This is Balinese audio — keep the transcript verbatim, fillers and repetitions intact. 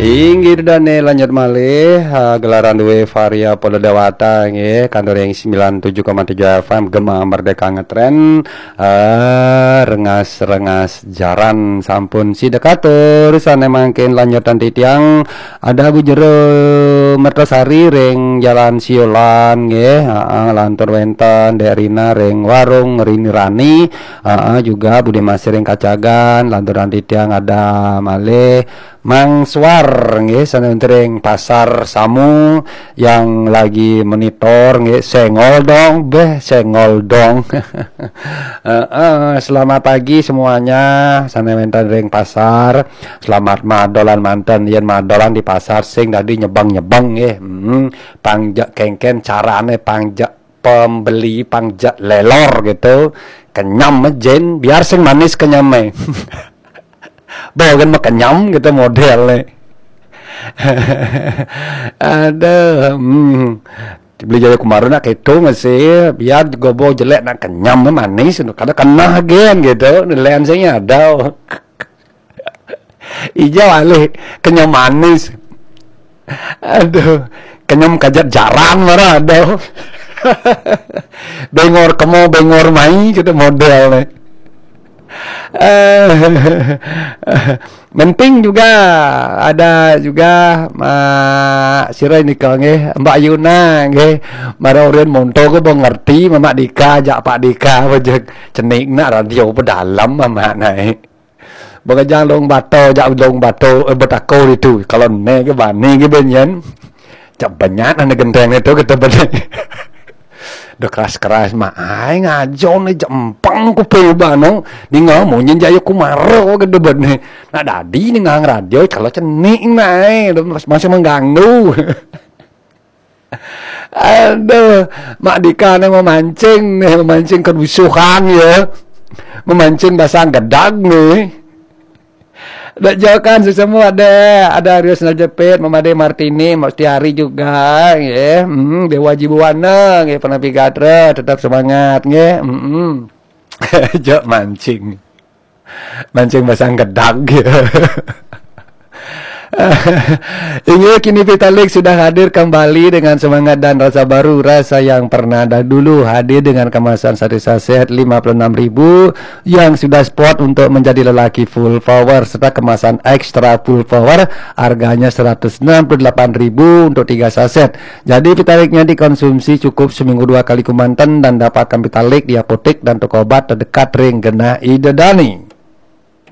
Inggih, dane lanjut malih, ha, gelaran duwe Varia Poda Dewata nggih, kantor yang sembilan tujuh koma tujuh F M Gema Merdeka Ngetren, eh, rengas-rengas jaran sampun sida katur, sane mangkin lanjutan titiang, ada Bu Jero Mertosari ring Jalan Siolan nggih, heeh, lantur wenten Dek Rina ring Warung Rini Rani, heeh, juga Bude Masih ring Kacagan, lanturan titiang ada malih Mang Suar nggih, sane wenten ring Pasar Samu yang lagi monitor nggih, sengol dong, beh, sengol dong. Heeh, selamat pagi semuanya, sane wenten ring pasar. Selamat madolan manten, yen madolan di pasar sing dadi nyebeng-nyebeng nggih. Hmm, pang ja kengken carane, pang ja pembeli, pang ja lelor gitu. Kenyam jen, biar sing manis kenyame. Bawa kan mah kenyam gitu modele. Aduh, hmm. Beli jayo kemarin nak keto masih, biar gobo jelek nak kenyam manis, kada kena gen gitu, nilaian saya ada. Ijau alih, kenyam manis. Aduh, kenyam kajat jaran marah, aduh. Bengor kemo, bengor mai, gitu model nih. Eh, penting juga ada juga Mak Sira nika nggih, Mbak Yuna nggih. Mara urin monto ke bo ngerti Mamak Dika, jak Pak Dika, bejek cenik nak radio pedalam Mamak naik. Bagajang dong bato, jak dong bato, eh, betako itu. Kalau ne ke bani ke benyen. Cak banyak ane genteng itu kita bani. Dah keras-keras mah ai ngajo ni jempang ku pe bano. Ninga munyin jayo kumaro ke debat ni. Nak dadi ninga radio kalau cenik nai masih mengganggu. Aduh, Mak Dika ni memancing ni, memancing kerusuhan ya. Memancing basang gedag ni. Dak jauh kan semua ada, ada Aryo Sendal Jepit, Mama De Martini, Mak Setiari juga, ya. Hmm, Dewa Jibuana, ya, Penapi Gatra, tetap semangat, ya. Hmm. Jok mancing. Mancing basang gedag, ya. Inggih, kini Vitalik sudah hadir kembali dengan semangat dan rasa baru, rasa yang pernah dah dulu hadir dengan kemasan satu saset lima puluh enam ribu yang sudah spot untuk menjadi lelaki full power serta kemasan extra full power, harganya seratus enam puluh delapan ribu untuk tiga saset. Jadi Vitaliknya dikonsumsi cukup seminggu dua kali kemanten dan dapatkan Vitalik di apotek dan toko obat terdekat ring genah Ida Dani.